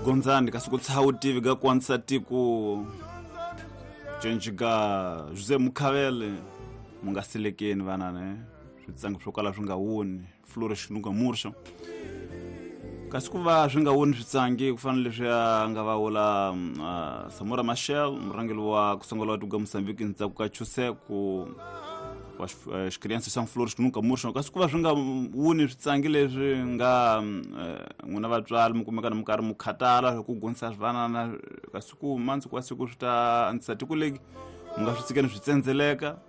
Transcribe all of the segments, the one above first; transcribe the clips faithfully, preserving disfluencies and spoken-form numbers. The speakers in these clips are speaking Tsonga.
Gonzani kasi ku tshaha tivi ga kwanisa tiko Jenjiga Jose Mukhavele mu nga silekeni vana ne switsangi swo kala swi nga woni Flores Nunga Mursa kasi ku va swi nga woni switsangi ku fanele leswi a nga va wula uh, Samora Machel murhangeri wa ku sungula wa tiko Mozambique ndzhaku ka Chuseko wa xikriansi xa Flores Nunga Mursa kasi ku va swi nga woni switsangi leswi nga n'wina vatswari mi kumeka na mi karhi mi khatala ku gonisa swivanana kasi ku mandzuku wa siku swi ta antswisa tiko leki mi nga swi tshikeni swi tsendzeleka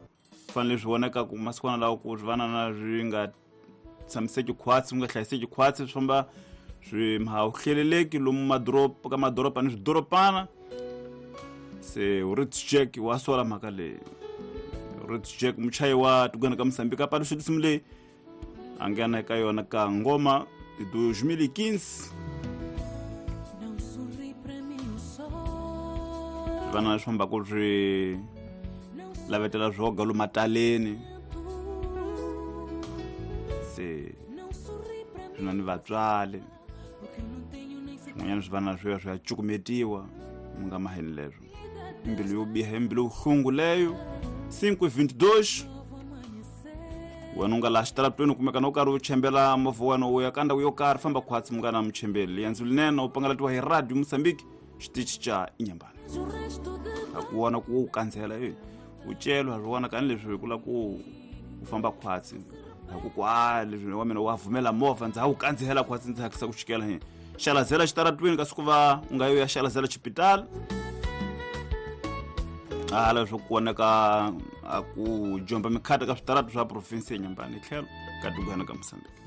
fanele swi vonaka ku masikwana lawa ku swivanana swi nga tshamiseki khwatsi swi nga hlayiseki khwatsi swi famba swi hleleleki lomu madoroba ka madoroba ni swidoropana se Rich Jack wa sola mhaka leyi Rich Jack muchayi wa tikweni ka Mozambique a paluxa tinsimu leyi a nghena eka yona ka ngoma de dois mil e quinze vana leswi fambaka swi lavetela swoga lomu mataleni se swi na ni vatswari swin'wanyana swi vana swi ya swi ya cukumetiwa mi nga maheni leswo mbilu yo biha mbilu yo leyo cinco e vinte e dois wena u nga laha xitaratweni kumeka na u karhi u chembela movha wa wena u ya ka ndhawu yo karhi famba khwatsi munghana muchembeli liendzo linene u pangalatiwa hi radio Mozambique xitichi xa Inyambani a ku vona ku u kandzela e u celwa swi vona kani leswi ku la ku u famba khwatsi a ku ku a leswi wa mina wa vumela movha ndza ha wu kandzela khwatsi ndzi hatlisa ku chikela hi xalazela xitaratweni kasi ku va u nga yo ya xalazela xipitali hala swo ku vonaka a ku jomba mikhata ka switaratu swa province ya Nyambani tlhelo ka tikwana ka Mozambique.